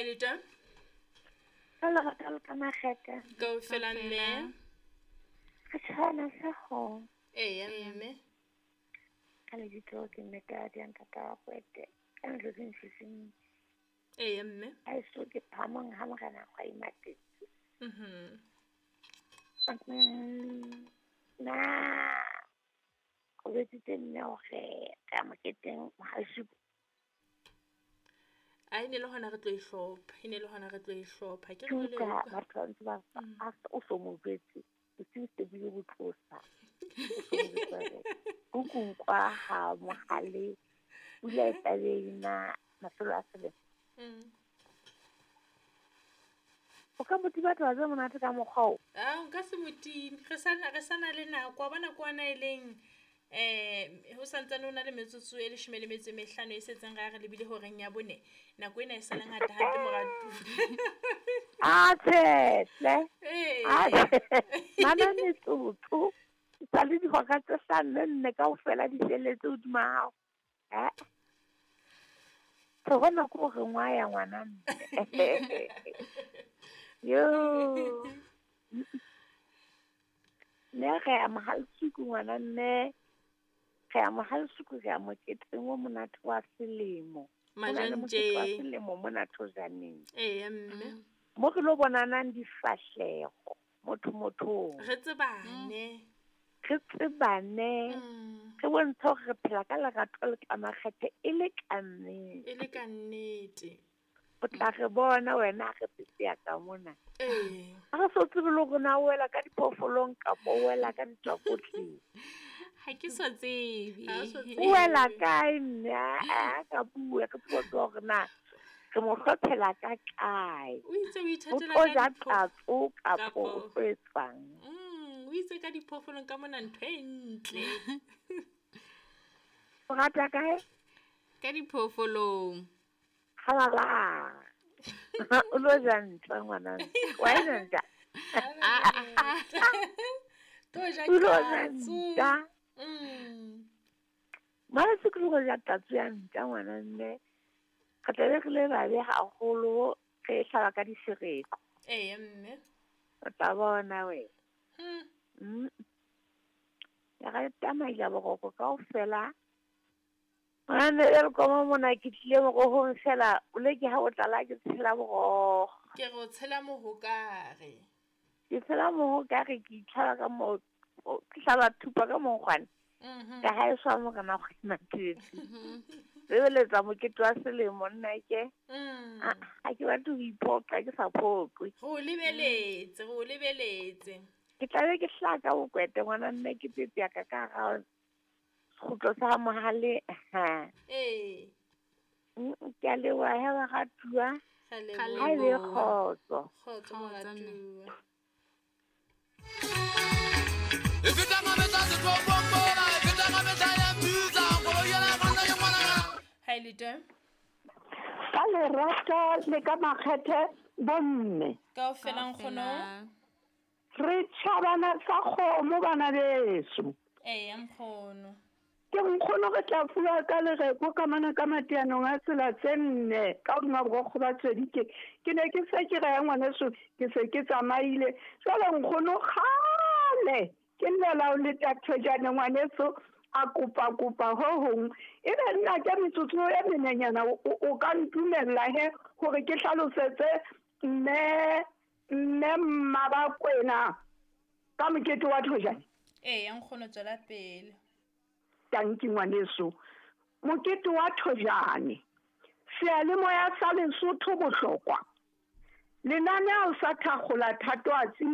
le teng? Ka lerato le ka makgethe. Kaofela mme. Re tshwana sa go. Eya mme. Ka lebitso ke mme ka di ntata wa kwete. Ka ntlo ke ntshitseng. Eya mme. A so ke phamong ha morena gwa imatetse. Na o betsitse mme hore ka moketeng mohaleshuku. A e ne le hona re tlo e hlopha, e ne le hona re tlo e hlopha. Ke re le batho ba ntse ba a o so mo jwetse, bosiu se bile bo tlosa. O so mo jwetse hore kukunkwa ha mohale pula e tlabe e na mafelo a selemo. O ka mo tima taba tse monate ka mokgwa o? Ah, nka se mo time. Re sana le nako. Wa bona kwana e leng ho santsane ho na le metsotso e 15 e setseng re lebile horeng ya 4. Nako ena e sa le ngata hape moratu. A tjhe. A mana metsotso. Sa le dihora tse hlano nne kaofela di felletse hodima hao. Tho bona ko re ngwa ya ngwana mme. Yo. Ne re ya mohaleshuku ngwana mme. Re ya mohaleshuku re ya moketeng o monate wa selemo. Majantje. Wa selemo mona Thojaneng. Eya mme. Mo re lo bonanang difahleho motho mothong. Re tsebane. Re tsebane. Re bontshe hore re phela ka lerato le ka makgethe e le ka nnete. E le ka nnete. O tla re bona wena re petse ka mona. Ee. Ha re so tsebe le hore na o wela ka diphoofolong kapa o wela ka ditswakotleng. Ha ke so tsebe. O wela kae mme? A ka bua ke tsebe hore na re mo hlophela ka kae. O itse o ithatela ka tatso kapa o tlo etsang. O itse ka diphoofolong ka mona ntho e ntle. O rata kae? Ka diphoofolong. Halala. O lo ja ntja ngwana. Wa e ja ntja? To ja O lo ja katso. ntja. Mara se ke lo ja tatso ya ntja ngwana mme. Re tla be re le babe haholo re hlaba ka disereko. Eya mme. O tla bona wena. Ya re tamaila boroko kaofela. Ngwana e le koma mona ke tlile morohong fela, o le ke ha o tlala ke tshela moroho. Ke re o tshela mohokare. Ke tshela mohokare ke itlhaba ka mo, ke hlaba thupa ka monkgwane. Ka ha e swa morena go imatetse. Bebeletsa mokete wa selemo nna ke. Ha ke batle ho iphoqa ke sa phoqwe. Re o lebeletse, re o lebeletse. Ke tla be ke hlaka bokwete ngwana mme ke pepya ka ka ga kgutlo sa mohale. Ee. Ke a leboha he baratuwa. Re leboha. Ha e be kgotso. Kgotso moratuwa. Ha e le teng? Ka lerato le ka makgethe bomme. Kaofela nkgono. Re tjhabana sa kgomo bana beso. Eya nkgono. Ke nkgono re tla fuwa ka lereko ka mana ka mateanong a tsela tse nne ka hodima borokgo ba tswedike. Ke ne ke se ke reya ngwaneso ke se ke tsamaile. Jwale nkgono kgale ke llela o le Thojane ngwaneso a kopa kopa ho hong. Ebe nna ke metsotso e menenyana o ka ntumella he hore ke hlalosetse mme Mmabakwena ka mokete wa Thojane. Eya nkgono tswela pele. Tanki ngwaneso. Mokete wa Thojane. Seyalemoya sa Lesotho bohlokwa. Lenaneo sa thakgola thatohatsi